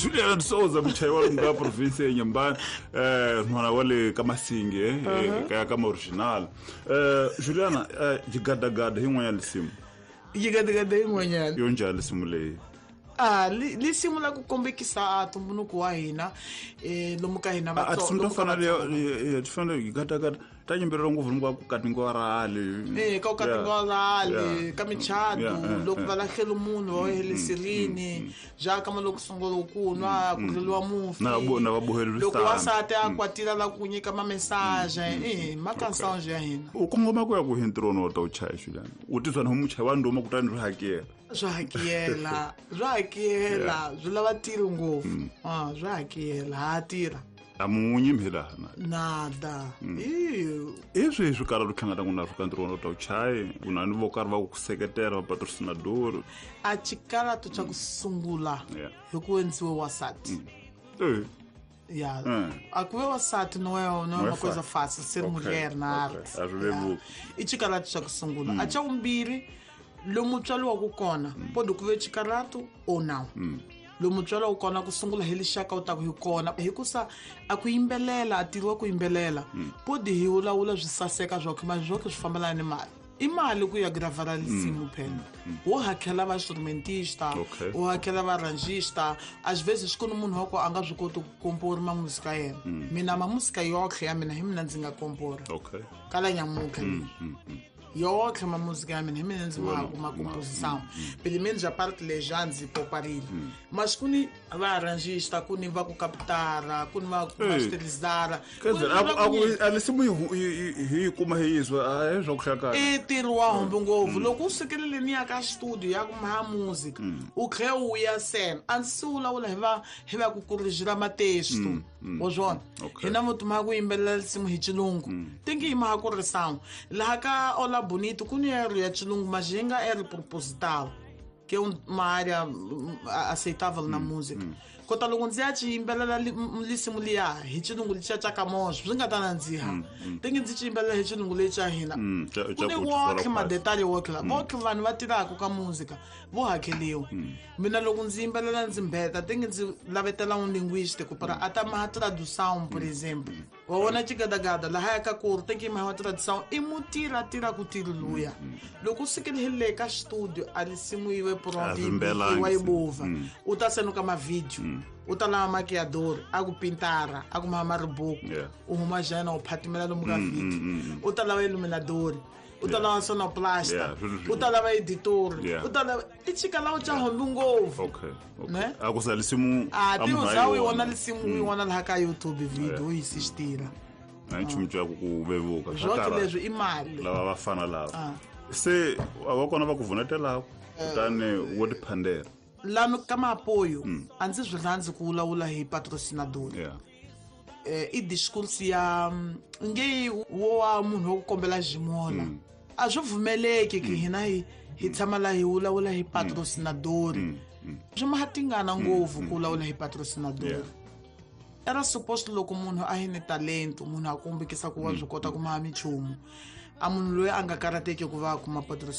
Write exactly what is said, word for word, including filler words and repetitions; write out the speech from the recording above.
Juliana Souza muchayi wa nga province ya Nyambani, eh nhwana wa le ka Masingi, eh ka ka original. Eh Juliana, jigadagada hi n'wanya lisimu. Jigadagada hi n'wanyana. Yo njhani lisimu leyi? Ah, lisimu la ku kombekisa tumbuluko wa hina, eh lomu ka hina va tso. A fana le ti fanele jigadagada ta nyimbelela ngopfu ni ku katingiwa rali. Eh ka katingiwa rali, ka michato, loko va lahlela munhu wa helisirini, ja ka loko sungula ku nwa ku tleliwa mufi. Na bo na va bohelisa. Loko wasati a kwatila la ku nyika ma message, eh ma kansange ya hina. U kongoma ku ya ku hintrono wa ta u chaya Juliana. U tizwa na muchayi wa ndoma kutani ri hakela. Swa hakela, swa hakela, swi lava tirho ngopfu. Ah, swa hakela, ha tirha. Amunyi mhelana. Nada. I swi swi karhi hlangana ku na Afrika ntirho wa chayi, ku na ni vo karhi va ku seketela va patrocinador. A chikalato xa ku sungula hi ku endliwe wasati. Eh. Ya. A ku ve wasati não é não é uma coisa fácil ser mulher na arte. I chikalato xa ku sungula. A xa vumbirhi lomu tswariwaka kona, pode ku ve chikalato ou não. Lomu tswariwaka kona ku sungula hi lixaka u ta ku hi kona hikusa a ku yimbelela a tirhiwa ku yimbelela podi hi vulavula swi saseka swa ku ma swo swi fambelana ni mali. I mali ku ya gravara lisimu phela. Wo hakela va instrumentista, wo hakela va arrangista, às vezes ku ni munhu wa ku a nga swi koti ku kompora ma muzika yena. Mina ma muzika yotlhe ya mina hi mina ndzi nga kompora. Kala nyamuka. Yotlhe ma muzika ya mina hi mina ndzi ma kuma composição. Pelo menos a parte legends e pouparile. Mas ku ni va arrangista, ku ni va ku captara, ku ni va ku masterizara. Quer dizer, a lisimu hi kuma hi yizwa a hi swa ku hlakana. I ntirho wa hombe ngopfu. Loko u sukelele ni ya ka studio ya ku maha music, u tlhe u ya sena. A ndzi se vulavula hi va hi va ku corrigir matesto. Wa swona. Hina mo tuma ku yimbelela lisimu hi xilungu. Tingi hi maha ku ri sound. Laha ka Ola Bonito ku ni erro ya xilungu mas yi nga erro proposital, que é uma área aceitável na música. Kota loko ndzi ya ci yimbelela lisimu liya hi xilungu lexiya xa Kamoso swi nga ta nandziha. Tingi ndzi ci yimbelela hi xilungu lexi xa hina. Ku ni wotlhe madetali wotlhe la. Wotlhe vanhu va tirhaka ka música vo hakeliwa. Mina loko ndzi yimbelela ndzi mbeta tingi ndzi lavetela un linguista ku para a ta maha tradução, por exemplo. Wa vona chigadagada laha ya ka ku ri tingi maha tradução i mutira tira ku tiro luya. Loko u sukile hi le ka studio a lisimu yi ve pronto wa yi bova. U ta senuka ma video. U ta lava maquiador a ku pintara a ku maha ribuku u huma jana u phatimela lomu ka video. U ta lava iluminador, u ta lava sonoplasta, u ta lava editor, u ta lava i chikalawo xa hombe ngopfu. Okay. Okay. A ku sa lisimu a ti u yi vona lisimu u yi vona laha ka YouTube video u yi sistira. A nchumu xa ku vevuka. Swotlhe leswi i mali. Lava va fana lava. Se a va kona va ku vunetelaka kutani wo tiphandela. Lano ka maapoio a ndzi swi rhandzi ku vulavula hi patrocinador. Eh i discurso ya nge wo wa munhu wa ku kombela ximola. A swi pfumeleki ki hina hi hi tshama la hi vulavula hi patrocinador. Swi ma tingana ngopfu ku vulavula hi patrocinador. Era suposto loko munhu a hi ni talento, munhu a kombekisa ku wa swi kota ku maha minchumu. A munhu loyi a nga karateki ku va a kuma patrocinador.